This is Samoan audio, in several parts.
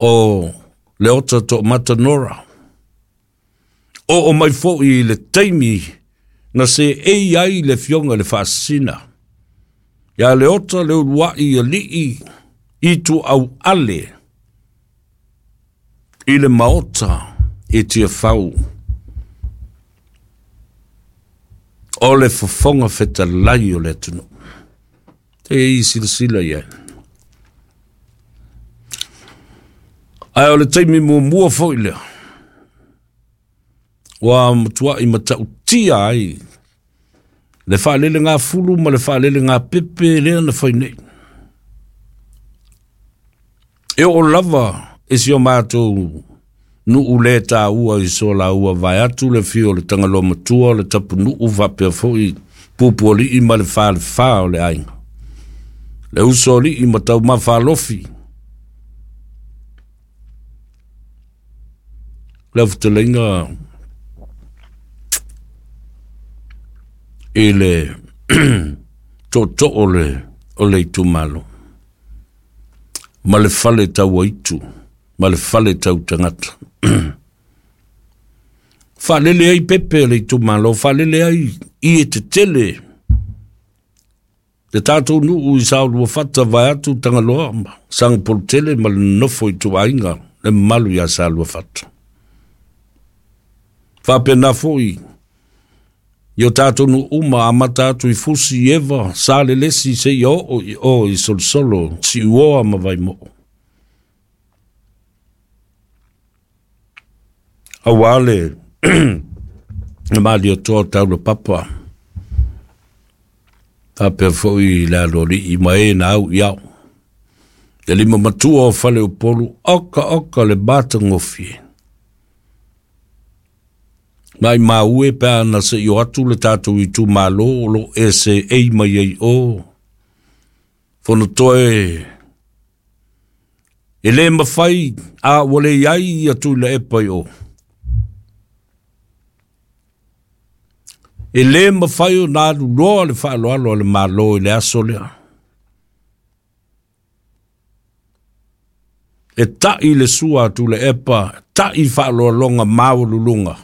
O Leota Toomata Nora. Oo mai foi i le taimi na seei ai le Afioga i le Faasisina ia Leota le uluai alii Ituauale i le Maota i Tiafau o le Fofoga Fetalai o le atunuu. Se i silasila i ai. Ae o le taimi muamua foi lea ua matuai matautia ai le faalelegafulu ma le faalelegāpepe lea na fai nei. E oo lava i si o matou nuu le taua i Solaua vaeatu le afio o le Tagaloa Matua o le Tapunuu faapea foi Pupualii ma le Falefa o le aiga, le Usoalii ma Taumafa Alofi, lau fetalaiga i le tootoo o le itumalo ma le fale tauaitu ma le fale tau tagata. Faalele ai pepe o le itumalo, faalele ai ie tetele le tatou nuu i Saoluafata vaeatu Tagaloa ma Sagapolutele ma le nonofo ituaiga le mamalu ia Saluafata. Faapena foi i o tatou nuu uma amata atu i Fusi, Eva, Salelesi seia oo i o i Solosolo, Siuoa ma Vaimoo. Aua le Malietoa o Taulapapa, faapea foi le aloalii ma e na au i ao. Le lima matua o Faleupolu, oka oka le matagofie. Mai maue pe ana se i o atu le tatou itumalo o lo e seei mai ai o. Fonotoe e le mafai a ua le i ai ia Tuilaepa i o. E le mafai ona alu loa le faaaloalo a le Malo i le aso lea. E tai le sua a Tuilaepa, tai faaaloaloga maualuluga,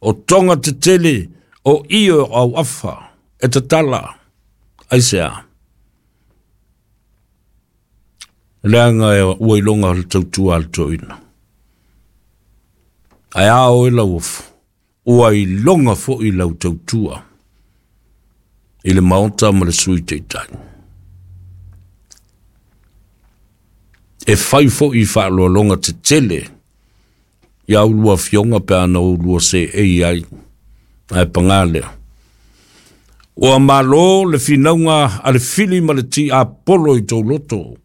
o toga tetele, o ie o auafa, e tatala. Aisea? Leaga ua iloga le tautua a le toeaina. Ae a oe Lauofo, ua iloga foi lau tautua i le Maota ma le Sui Taitai. E fai foi faaaloaloga tetele ia ulua afioga pe ana ulua seei ai. Ae paga lea. Ua malo le finauga a le fili ma le tiapolo i tou loto.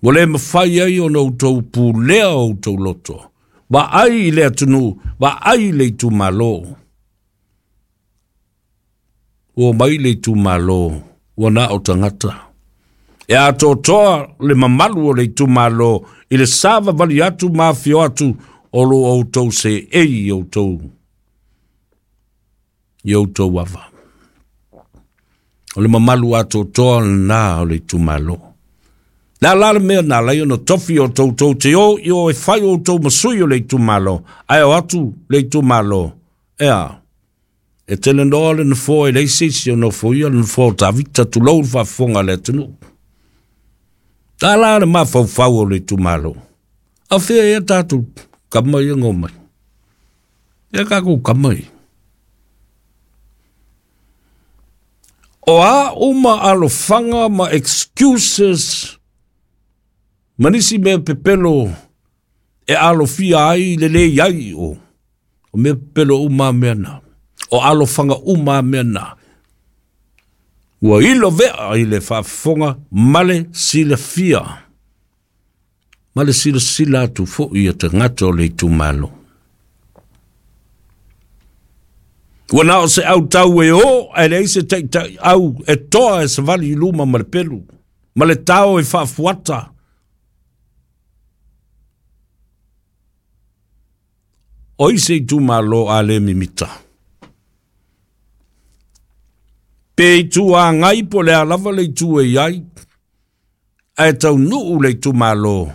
Ua le mafai ai ona outou pulea o outou loto. Vaai i le atunuu, vaai i le itumalo. Ua omai le itumalo, ua na o tagata. E atoatoa le mamalu o le itumalo i le savavali atu ma afio atu o lo outou seei i outou i outou ava. O le mamalu atoatoa lena o le itumalo. Le a la le mea na ala ai ona tofi outou tou te o i o e fai outou ma sui o le itumalo, ae o atu le itumalo, ea, e tele noa le nofoa e leai se isi o nofoia le nofoa o Tavita, tulou le faafofoga a le atunuu. A la le mafaufau o le itumalo, a fea ea tatou kama ia na omai? Ea tatou kama ia? O a uma alofaga ma excuses ma nisi mea pepelo e alofia ai le le i ai o mea pepelo uma a mea na, o alofaga uma a mea na, ua ilo vea i le faafofoga ma le silafia, ma le silasila atu foi a tagata o le itumalo. Ua na o se autau e o ae leai se taitai au e toa e savali i luma ma le pelu, ma le tao e faafuata. O ai se itumalo a le mimita? Pe itu agai po o le a lava le itu e i ai, ae taunuu le itumalo.